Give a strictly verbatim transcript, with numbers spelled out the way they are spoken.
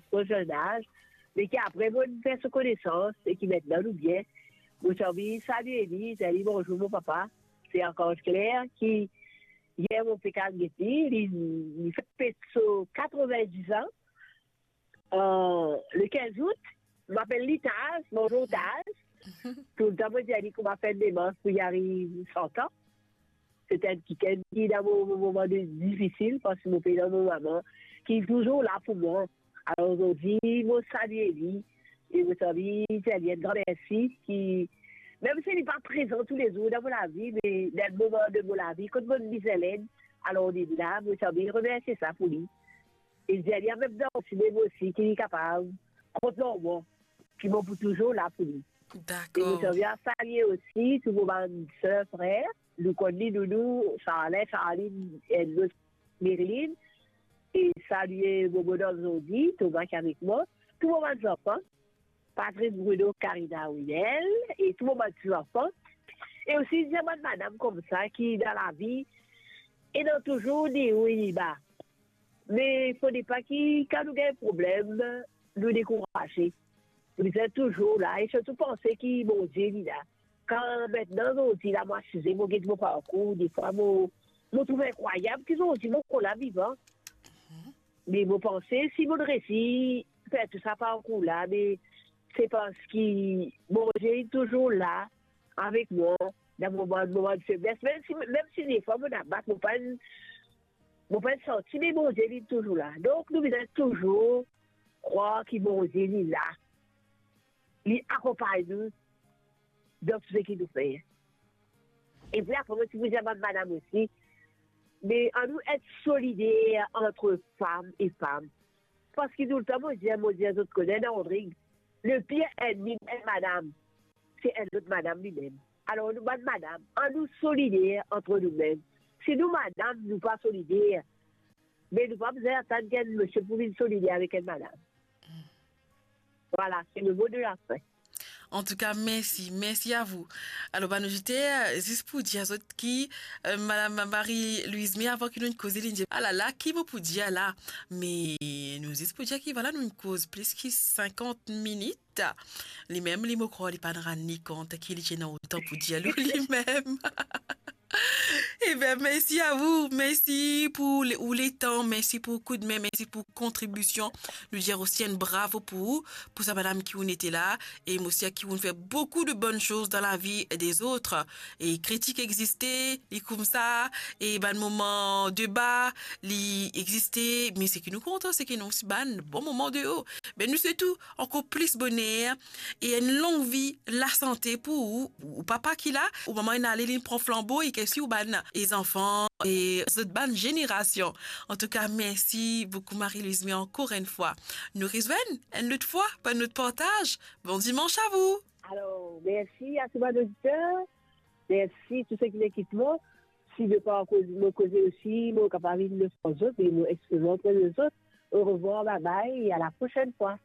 tro zenn az, me ki apre mo fer so konesans e ki mintnan nou bien. Mo ti anvi salie li, dir li bonzour mo papa. Se Arkanz Kler ki yer mo pe al get li, li, li fete so katrovin-diz an. Euh, le kinz out, mo apel li Taz, bonzour Taz. Toultan mo dir li kouma fer demars pou li ariv san an. Se enn kikenn ki dan mo, mo moman de difisil, parski mo pe dan mo mama, ki touzour la pou mwa. Alor, zordi, mo salie li, e mo ti anvi dir li enn gran mersi, ki, mem si li pa prezan toulezour dan mo lavi, me dan moman de mo lavi, kot mo bizin led, alor li la, mo ti anvi remersie sa pou li. E dir li an mem tan osi, me mo osi, ki li kapav kont lor mwa, ki mo pou touzour la pou li. E mo Dakor. Ti anvi salie osi tou mo bann ser, frer, nou konn li, Nounou, Sarlin, Sarline, e lot Marilyn, e salie mo bonn zordi, Thomas ki avek mwa, tou mo bann zanfan, Patrick, Bruno, Karina, Wilel, e tou mo bann ti zanfan, e osi dir bann madam koumsa ki dan lavi, ena touzour ni o e ni ba. Me fode pa ki, kan nou gagn problem, nou dekouraze. Nou bizin touzour la, e sirtou panse ki Bondie, li la. Kan mintnan, zordi la, mo asize, mo get mo parkour, defwa mo, mo trouv inkrwayab ki zordi mo ankor la vivan. Me mo panse, si mo resi fer tou sa parkour la, me se parski Bondie, li touzour la, avek mwa, dan mo moman, moman de febles. Mem si, mem si defwa mo abat, mo pa, mo pa santi, me Bondie, li touzour la. Donk, nou bizin touzour krwar ki Bondie, li la. Li akonpagn nou dan tou seki nou fer. Epi apre, mo ti pou dir bann madam osi, me annou et solider ant fam e fam. Parski toultan, mo dir, mo dir zot, kone dan Rodrig, le pir ennmi enn madam, se enn lot madam limem. Alor, nou bann madam, annou solider ant noumem. Si nou madam, nou pa solider, me nou pa bizin atann ki enn misie pou vinn solider avek enn madam. Vwala, se le mo de la fin. Antouka, mersi, mersi a vou. Alor, bann oditer, zis pou dir zot ki, euh, Madam Marie-Louise May, avan ki nou koze, li dir, "Alala, ki mo pou dir la?" Me nou zis pou dir ki, vwala, nou koz plis ki sinkant minit. Limem, li, mo krwar li pa'nn rann li kont ki li ti ena otan pou dir lor limem. Eben, mersi a vou, mersi pou le, ou letan, mersi pou koudme, mersi pou kontribision. Nou dir osi enn bravo pou ou, pou sa madam ki ou'nn ete la, e mo sir ki ou'nn fer boukou de bonn soz dan lavi dezot. E kritik existe, li koumsa, e bann moman de ba, li existe, me seki nou kontan, seki nou osi bann bon moman de o. Be nou swet ou ankor plis boner e enn long vi, lasante pou ou, ou papa ki la, ou mama inn ale, linn pran flanbo, e ki osi ou bann, e zanfan, e zot bann zenerasion. Antouka, mersi boukou, Marie-Louise May, ankor enn fwa. Nou rezwenn enn lot fwa pou enn lot partaz. Bon dimans a vou. Alor, mersi a tou bann oditer. Mersi tou seki lekip mwa. Si zot pa koz-, mo koze osi, mo kapav vinn lefraz zot, e mo exprim mo pre de zot. Orevwar, babay, e a la prosenn fwa.